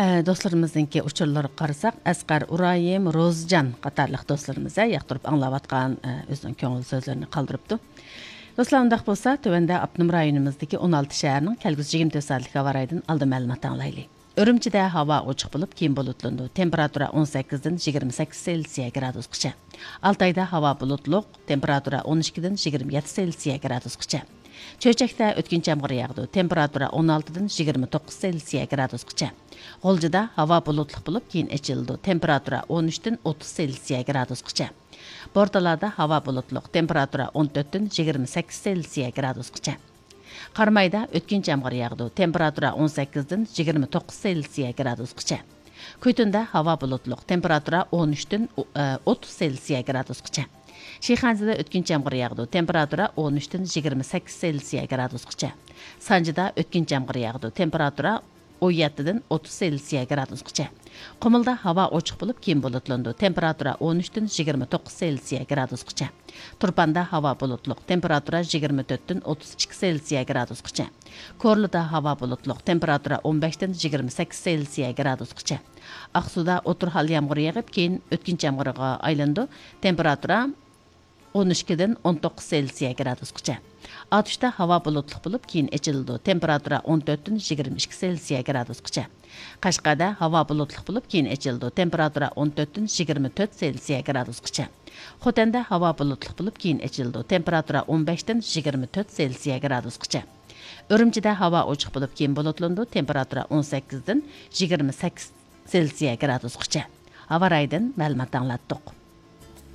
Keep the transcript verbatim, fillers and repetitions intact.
ئە، دوستلىرىمىزنىڭكى ئۇچۇرلىرىغا قارىساق، ئەسقەر ئۇرايىم، روزىجان قاتارلىق دوستلىرىمىز، ئە، ياقتۇرۇپ ئاڭلاۋاتقان، ئە، ئۆزىنىڭ كۆڭۈل سۆزلىرىنى قالدۇرۇپتۇ. دوستلار، ئۇنداق بولسا، تۆۋەندە ئاپتونوم رايونىمىزدىكى ئون ئالتە شەھەرنىڭ كەلگۈسى يىگىرمە تۆت سائەتلىك ھاۋا رايىدىن ئالدىن مەلۇمات ئاڭلايلى. ئۈرۈمچىدە ھاۋا ئوچۇق بولۇپ، كېيىن بۇلۇتلىنىدۇ. تېمپېراتۇرا ئون سەككىزدىن يىگىرمە سەككىز سېلسىيە گرادۇسقىچە. ئالتايدا ھاۋا بۇلۇتلۇق، تېمپېراتۇرا ئون ئىككىدىن يىگىرمە يەتتە سېلسىيە گرادۇسقىچە. چۆچەكتە ئۆتكۈنچى يامغۇر ياغىدۇ، تېمپېراتۇرا ئون ئالتىدىن يىگىرمە توققۇز سېلسىيە گرادۇسقىچە. غۇلجىدا ھاۋا بۇلۇتلۇق بولۇپ، كېيىن ئېچىلىدۇ، تېمپېراتۇرا ئون ئۈچتىن ئوتتۇز سېلسىيە گرادۇسقىچە. بورتالادا ھاۋا بۇلۇتلۇق، تېمپېراتۇرا ئون تۆتتىن يىگىرمە سەككىز سېلسىيە گرادۇسقىچە. قارامايدا ئۆتكۈنچى يامغۇر ياغىدۇ، تېمپېراتۇرا ئون سەككىزدىن يىگىرمە توققۇز سېلسىيە گرادۇسقىچە. كۈيتۇندا ھاۋا بۇلۇتلۇق، تېمپېراتۇرا ئون ئۈچتىن ئوتتۇز سېلسىيە گرادۇسقىچە. شىخەنزىدە ئۆتكۈنچى يامغۇر ياغىدۇ، تېمپېراتۇرا ئون ئۈچتىن يىگىرمە سەككىز سېلسىيە گرادۇسقىچە. سانجىدا ئۆتكۈنچى يامغۇر ياغىدۇ، تېمپېراتۇرا ئون يەتتىدىن ئوتتۇز سېلسىيە گرادۇسقىچە. قۇمۇلدا ھاۋا ئوچۇق بولۇپ، كېيىن بۇلۇتلىنىدۇ، تېمپېراتۇرا ئون ئۈچتىن يىگىرمە توققۇز سېلسىيە گرادۇسقىچە. تۇرپاندا ھاۋا بۇلۇتلۇق، تېمپېراتۇرا يىگىرمە تۆتتىن ئوتتۇز ئىككى سېلسىيە گرادۇسقىچە. كورلىدا ھاۋا بۇلۇتلۇق، تېمپېراتۇرا ئون بەشتىن يىگىرمە سەككىز سېلسىيە گرادۇسقىچە. ئاقسۇدا ئوتتۇرا ھال يامغۇر يېغىپ، كېيىن ئۆتكۈنچى يامغۇرغا ئايلىنىدۇ، تېمپېراتۇرا ئون ئىككىدىن ئون توققۇز سېلسىيە گرادۇسقىچە. ئاتۇشتا ھاۋا بۇلۇتلۇق بولۇپ، كېيىن ئېچىلىدۇ، تېمپېراتۇرا ئون تۆتتىن يىگىرمە ئىككى سېلسىيە گرادۇسقىچە. قەشقەردە ھاۋا بۇلۇتلۇق بولۇپ، كېيىن ئېچىلىدۇ، تېمپېراتۇرا ئون تۆتتىن يىگىرمە تۆت سېلسىيە گرادۇسقىچە. خوتەندە ھاۋا بۇلۇتلۇق بولۇپ، كېيىن ئېچىلىدۇ، تېمپېراتۇرا ئون بەشتىن يىگىرمە تۆت سېلسىيە گرادۇسقىچە. ئۈرۈمچىدە ھاۋا ئوچۇق بولۇپ، كېيىن بۇلۇتلىنىدۇ، تېمپېراتۇرا ئون سەككىزدىن يىگىرمە سەككىز سېلسىيە گرادۇسقىچە. ھاۋا رايىدىن مەلۇمات ئاڭلاتتۇق.